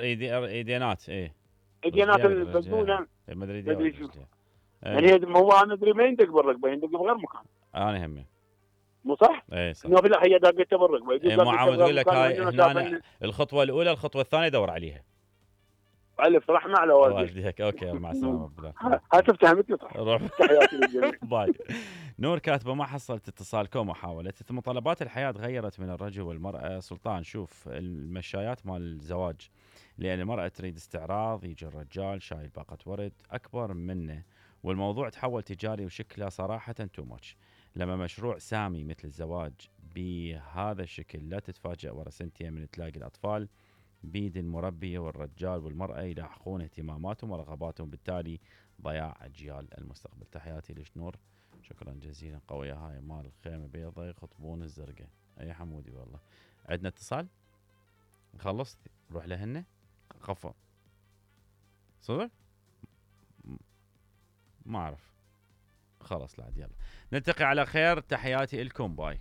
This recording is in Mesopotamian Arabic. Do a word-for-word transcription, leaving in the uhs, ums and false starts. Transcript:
ايدينات ايه ايدينات البلدونه ما ادري ما ادري شو ايه. يعني هو انا ادري ما يندق بالركبه، يندق بغير مكان. انا همي مو صح؟ اي صح. انه لا هي داقته بالركبه، يجوز ايه مو داقته عاود بغير اقول لك مكان هاي وعندنا هنا شافن- الخطوه الاولى، الخطوه الثانيه دور عليها. الف رحمه على والديك. والديك اوكي مع السلامه. هاي تفتهمتني صح. روح تحياتي للجميع. باي. نور كاتبه ما حصلت اتصالكم وحاولت. متطلبات الحياه تغيرت من الرجل والمراه. سلطان شوف المشايات مال الزواج، لان المراه تريد استعراض، يجي الرجال شايل باقه ورد اكبر منه، والموضوع تحول تجاري وشكله صراحه تو ماتش. لما مشروع سامي مثل الزواج بهذا الشكل لا تتفاجأ ورا سنتين من تلاقي الاطفال بيد المربيه، والرجال والمراه يلاحقون اهتماماتهم ورغباتهم، بالتالي ضياع اجيال المستقبل. تحياتي لشنور، شكرا جزيلا. قويه هاي مال خيمه بيضاء يخطبون الزرقاء. اي حمودي والله. عندنا اتصال خلصت نروح لهن خفوا صدق ما اعرف خلص لا يلا نلتقي على خير. تحياتي لكم باي.